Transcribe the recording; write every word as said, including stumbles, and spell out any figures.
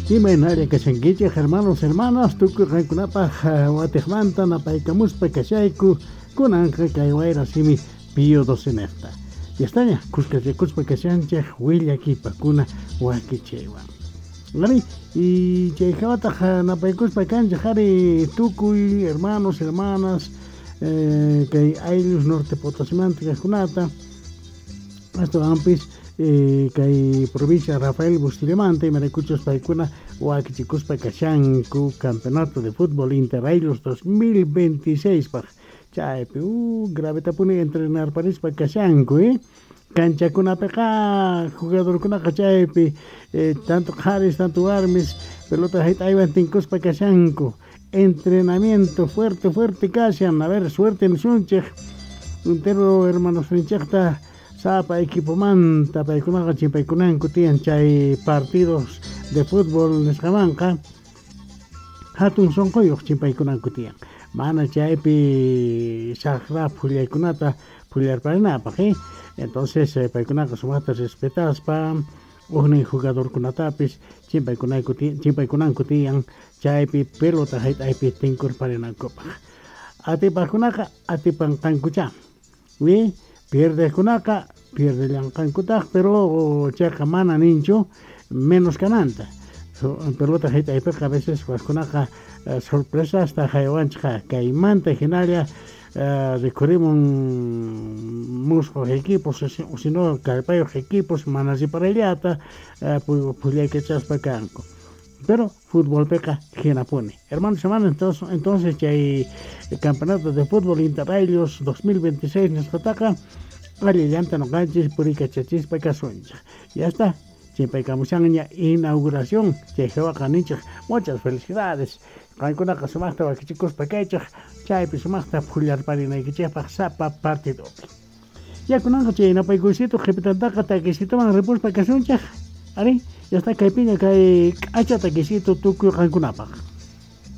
Imaynalla kashankichej hermanos, hermanas, tukuy qankunapaj watiqmanta napaykamuspa kashayku kunanqa kay wayra simi Pío doce nejta. Ya estaña, kuskachakuspa kashanchej willakipakuna wakichaywan. Ari, y chay hawataq napaykuspa kanchej ari tukuy hermanos, hermanas, eh, kay ayllus Norte Potosimanta kajkunata, astawanpis eh, kay provincia Rafael Bustillamanta, imaraykuchus paykuna wakichikuspa kashanku campeonato de fútbol Interayllus dos mil veintiséis paj. Chaypi uh, gravetapuni entrenarparispa kashanku, eh? Kanchakunapiqa jugadorkunaqa chaypi eh, tanto qharis tanto warmis pelota hayt'aywan tinkuspa kashanku, entrenamiento fuerte fuerte kashan. A ver, suerte nisunchej entero hermanos ninchejta sapa equipomanta, paykunaqa chimpaykunanku tiyan chay partidos de fútbol nisqamanqa hatun sunquyuq chimpaykunanku tiyan, mana chaypi saqra phullaykunata phullarparinapaq, eh? Entonces eh, paykunaqa sumaqta respetaspa ujnin jugadorkunatapis chimpaykunayku chimpaykunanku tiyan chaypi pelota hayt'aypi tinkurparinankupaq. Atipaqkunaqa atipanqankuchá, wi pierdejkunaqa pierdellanqankutaq, pero chayqa mana ninchu menos kananta. Pelota hayt'aypiqa a veces wajkunaqa sorpresasta haywanchikqa, kaymanta hinalla uh, rikhurimun mushuq equipos o sino kallpayuq equipos mana riparayllata uh, phullaykachaspa kanku, pero futbolpiqa hinapuni, hermanos, hermanas. entonces, entonces chay campeonato de fútbol Interayllus dos mil veintiséis nisqataqa allillanta noqanchis puriykachachispa kasunchik. Ya está, chimpaykamushanña inauguración, chay hawaqa ninchik muchas felicidades, qankunaqa sumaqta wakichikuspa kaychik chaypi sumaqta phullarparinaykichikpaq sapa partidopi. Ya kunanqa chay napaykuysito qhipitantaqa takisituman ripuspa kasunchik. Ari, ya está kaypiña kay k'acha takisito tukuy qankunapaq.